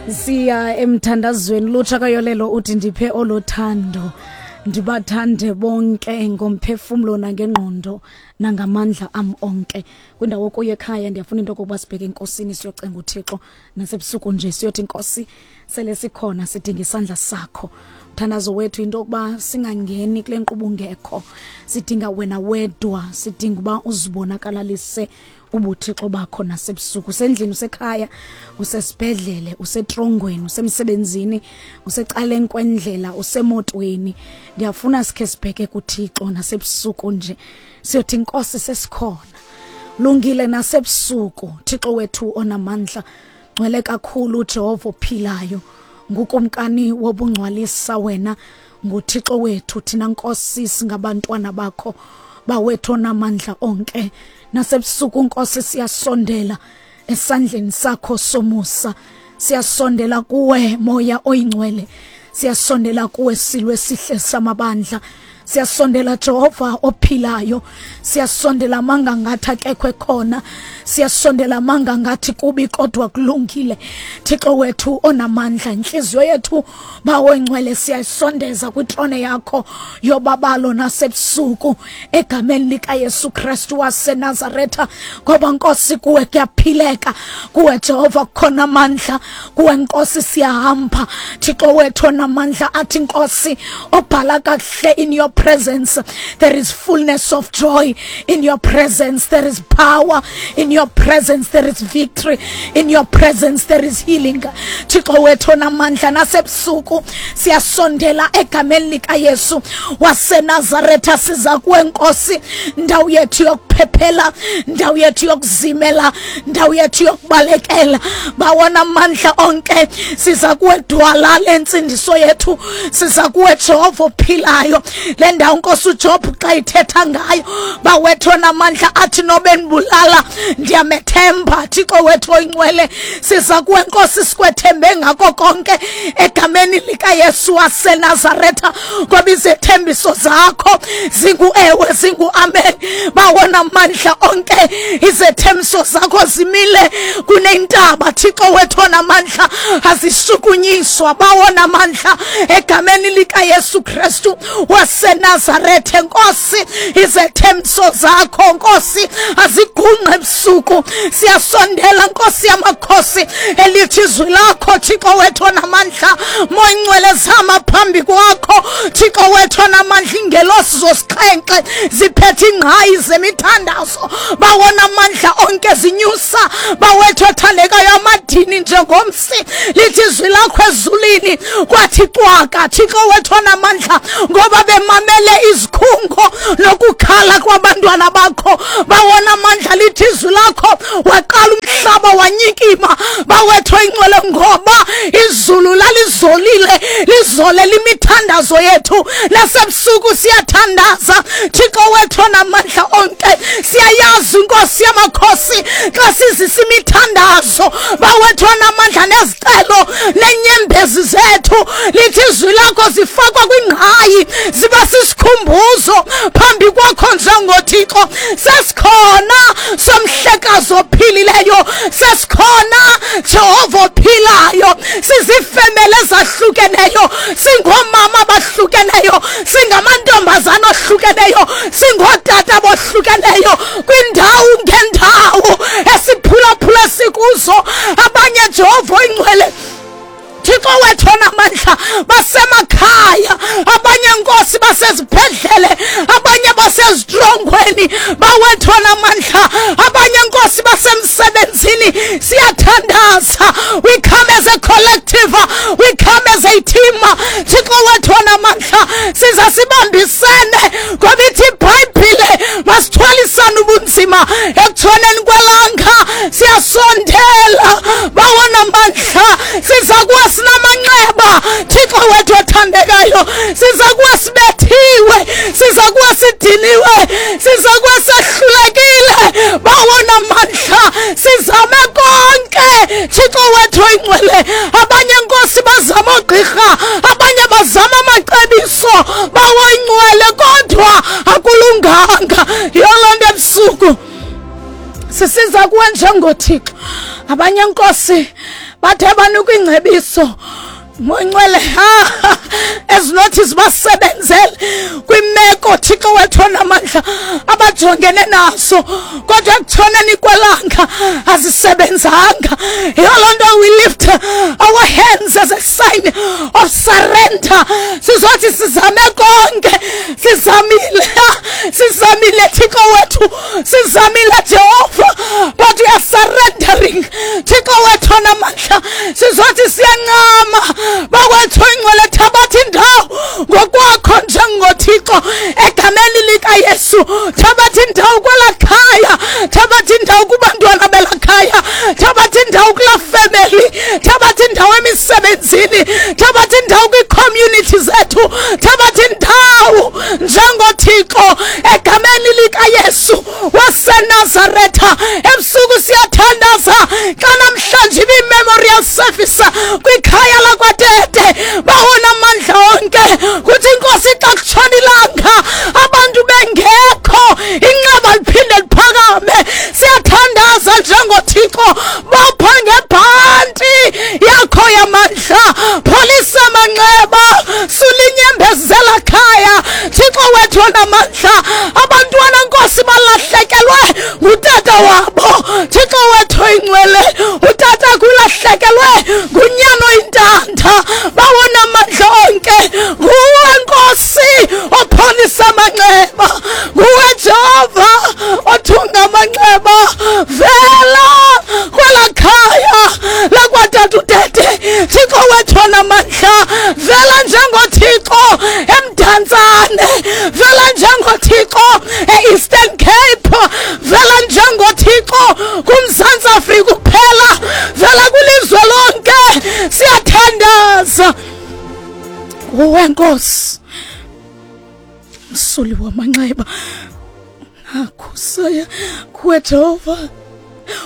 Siya emthandazweni. Lutsha kayolelo uthi ndiphe olothando, ndibathande bonke ngomphefumlo nangengqondo nangamandla am onke. Kwindawo kuyo ekhaya, ndiyafuna into yokokuba sibheke enkosini, siyocenga uThixo nasebusuku nje, siyothi Nkosi, sele sikhona, sidinga isandla sakho. Mthandazo wethu into yokuba singangeni kule nkqubo ungekho, sidinga wena wedwa, sidinga uba uzibonakalalise ubuthixo bakho nasebusuku. Usendlini, usekhaya, usesibhedlele, usetrongweni, usemsebenzini, usecaleni kwendlela, usemotweni, ndiyafuna sikhe sibheke kuThixo nasebusuku nje, siyothi Nkosi, sesikhona, lungile nasebusuku. Thixo wethu onamandla, ngcwele kakhulu, Jehova ophilayo, ngukumkani wobungcwalisa, wena nguThixo wethu, thina Nkosi singabantwana bakho, bawethu onamandla onke. Nasebusuku Nkosi siyasondela esandleni sakho somusa, siyasondela kuwe Moya oyingcwele, siyasondela kuwe silwe sihle samabandla, siyasondela Jehova ophilayo, siyasondela manga ngathi akekho ekhona, siyasondela manga ngathi kubi kodwa kulungile. Thixo wethu onamandla, inhliziyo yethu bawo ngcwele siyayisondeza kwitrone yakho yobabalo nasebusuku egameni likaYesu Kristu waseNazaretha, ngoba Nkosi kuwe kuyaphileka, kuwe Jehova kukhona amandla, kuwe Nkosi siyahamba. Thixo wethu onamandla, athi Nkosi obhala kakuhle, in your presence there is fullness of joy, in your presence there is power, in your presence there is victory, in your presence there is healing. Thixo wethu onamandla, nasebusuku siyasondela egameni likaYesu waseNazaretha, siza kuwe Nkosi, ndawo yethu yokuphephela, ndawo yethu yokuzimela, ndawo yethu yokubalekela, bawona amandla onke. Siza kuwe dwala lentsindiso yethu, siza kuwe Jehova ophilayo. Le ndawo Nkosi uJob xa ithetha ngayo, bawethu onamandla, athi nobe ndibulala ndiyamethemba. Thixo wethu oyingcwele, siza kuwe Nkosi, sikwethembe ngako konke egameni likaYesu waseNazaretha, ngoba izethembiso zakho zingu-ewe, zingu-amen. Bawona mandla onke, izethembiso zakho zimile kunentaba, Thixo wethu onamandla, azishukunyiswa, bawona mandla, egameni likaYesu Kristu waseNazarethe. Nkosi, izethembiso zakho Nkosi azigungqe ebusuku. Siyasondela Nkosi yamakhosi, elithi izwi lakho, Thixo wethu onamandla, moyingcwele zama phambi kwakho, Thixo wethu onamandla, ingelosi zosixhenxe ziphethe ingqayi zemithandazo, bawona amandla onke, zinyusa, bawethu othandekayo, amadini njengomsi. Lithi izwi lakho ezulwini kwathi cwaka, Thixo wethu onamandla, ngoba bemamele izikhungo nokukhala kwabantwana bakho, bawona amandla. Lithi izwi lakho waqala umhlaba wanyikima, bawethu oyingcwele, ngoba izulu lalizolile, lizolela imithandazo yethu. Nasebusuku siyathandaza, Thixo wethu onamandla onke. Siyayazi Nkosi yamakhosi, xa sizisa imithandazo, bawethu onamandla, nezicelo nenyembezi zethu, lithi izwi lakho zifakwa kwingqayi, ziba sisikhumbuzo phambi kwakho njengoThixo. Sesikhona somhlekazi ophilileyo, sesikhona Jehova ophilayo, sizifemele ezahlukeneyo, singoomama abahlukeneyo, singamantombazana ohlukeneyo, singootata abohlukeneyo, kwindawo ngendawo esiphulaphula sikuzo. Abanye, Jehova oyingcwele, Thixo wethu onamandla, basemakhaya, abanye Nkosi basezibhedlele, abanye basezitrongweni, bawethu onamandla, abanye Nkosi basemsebenzini. Siyathandaza, we come as a collective, we come as a team, Thixo wethu onamandla, siza sibambisene, ngoba ithi iBhayibhile masithwalisane ubunzima ekutshoneni kwelanga. Siyasondela, bawona mandla, siza kuwa sinamanxeba, Thixo wethu othandekayo, siza kuwa sibethiwe, siza kuwa sidiniwe, siza kuwa sehlulekile, bawona mandla, sizame konke, Thixo wethu oyingcwele. Abanye Nkosi bazama oogqirha, abanye bazama amacebiso, bawoyingcwele, kodwa akulunganga. Yiyo loo nto ebusuku sisiza kuwe njengoThixo. Abanye Nkosi Bathe banikwa ingcebiso Moyingcwele ezinothi zibasebenzele kwimeko Thixo wethu onamandla abajongene naso kodwa ekutshoneni kwelanga azisebenzanga. Yiyo loo nto we lift our hands as a sign of surrender. Sizothi sizame konke, sizamile, sizamile Thixo wethu, sizamile Jehova, but we are surrendering. Thixo wethu onamandla, sizothi siyancama bakwethu ingcwele, thabatha indawo ngokwakho njengoThixo egameni likaYesu. Thabatha indawo kwela khaya, thabatha indawo kubantwana bela khaya, thabatha indawo kula family, thabatha indawo emisebenzini, thabatha indawo kwii-community zethu, thabatha indawo njengoThixo egameni likaYesu waseNazaretha. Ebusuku siyathandaza xa namhlanje ibi-memorial service kwikhaya lakwaTete, bawona amandla onke kuthi inkosi xa kutshona ilanga abantu bengekho, inxeba liphinde liphakame. Siyathandaza njengoThixo, bopha ngebhanti yakho yamandla, pholisa amanxeba, sulinyembezela khaya. Thixo wethu onamandla, abantwana nkosi balahlekelwe ngutata wabo. Thixo wethu oyingcwele, utata kulahlekelwe ngunyana oyintanda. Bawona amandla onke, nguwe nkosi opholisa amanxeba, nguwe Jehova othunga amanxeba. Vela kwela khaya lakwatata uTete, Thixo wethu onamandla, vela njengoThixo eMdantsane, vela njengoThixo e-Eastern Cape, vela njengoThixo kuMzantsi Afrika kuphela, vela kwilizwe lonke. Siyathandaza nguwe nkosi, msuli wamanxeba. Nakusaya kuwe Jehova,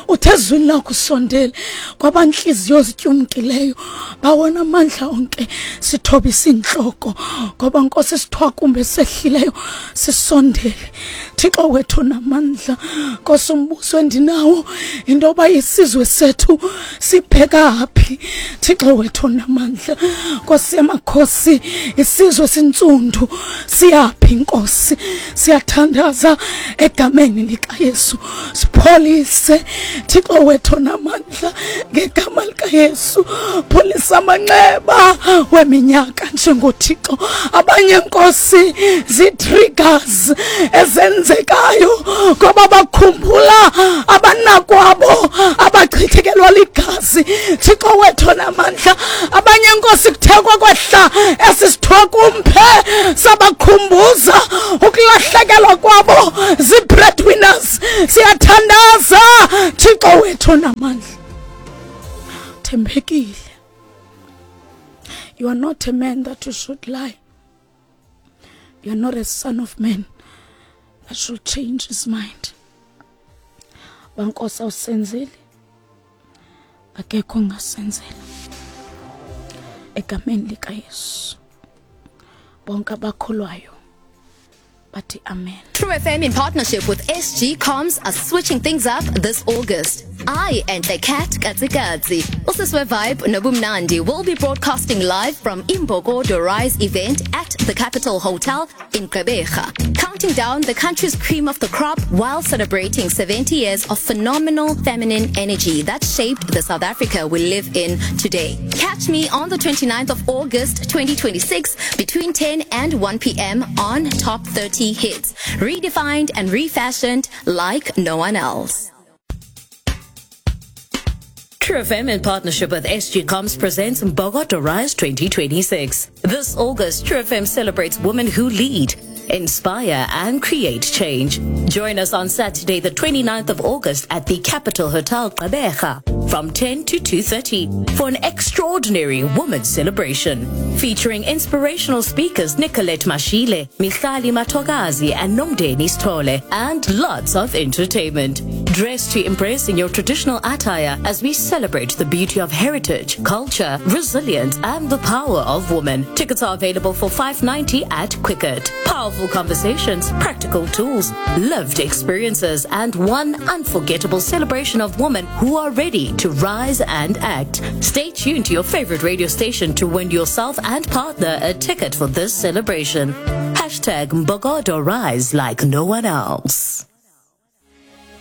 uthe ezwini lakho usondele kwabantliziyo zityumkileyo. Bawona amandla onke, sithobisa intloko ngoba nkosi sithwakumbe sehlileyo, sisondele Thixo wethu namandla. Nkosi, umbuso endinawo into yoba isizwe sethu sibheka phi. Thixo wethu namandla, nkosi yamakhosi, isizwe sintsundu siyaphi? Nkosi, siyathandaza egameni likaYesu, sipholise Thixo wethu namandla, ngegama likaYesu pholisa amanxeba weminyaka njengoThixo. Abanye nkosi zii-triggers ezenzekayo ngoba bakhumbula abanakwabo abachithekelwa ligazi. Thixo wethu namandla, abanye nkosi kuthekwa kwehla esi sithwakumphe sabakhumbuza ukulahlekelwa kwabo zii-breadwinners. Siyathandaza Thixo wethu namandla, thembekile. You are not a man that you should lie. You are not a son of man that should change his mind. Bankosi awusenzeli, akekho ongasenzela. Egameni likaYesu, bonke abakholwayo bathi amen. True FM in partnership with SG Comms are switching things up this August. I and the cat Katsikatsi, Usiswe Vibe Nobumnandi will be broadcasting live from Imbokodo Rise event at the Capital Hotel in Gqeberha, counting down the country's cream of the crop while celebrating 70 years of phenomenal feminine energy that shaped the South Africa we live in today. Catch me on the 29th of August 2026 between 10 and 1 p.m. on Top 30 Hits, redefined and refashioned like no one else. True FM in partnership with SG Comms presents Mbokodo Rise 2026. This August, True FM celebrates women who lead, inspire and create change. Join us on Saturday, the 29th of August at the Capital Hotel Gqeberha from 10 to 2:30 for an extraordinary women's celebration featuring inspirational speakers Nicolette Mashile, Michali Matogazi and Nomdeni Stole, and lots of entertainment. Dress to impress in your traditional attire as we celebrate the beauty of heritage, culture, resilience, and the power of women. Tickets are available for 590 at Quicket. Powerful conversations, practical tools, lived experiences, and one unforgettable celebration of women who are ready to rise and act. Stay tuned to your favorite radio station to win yourself and partner a ticket for this celebration. Hashtag Mbogodo Rise like no one else.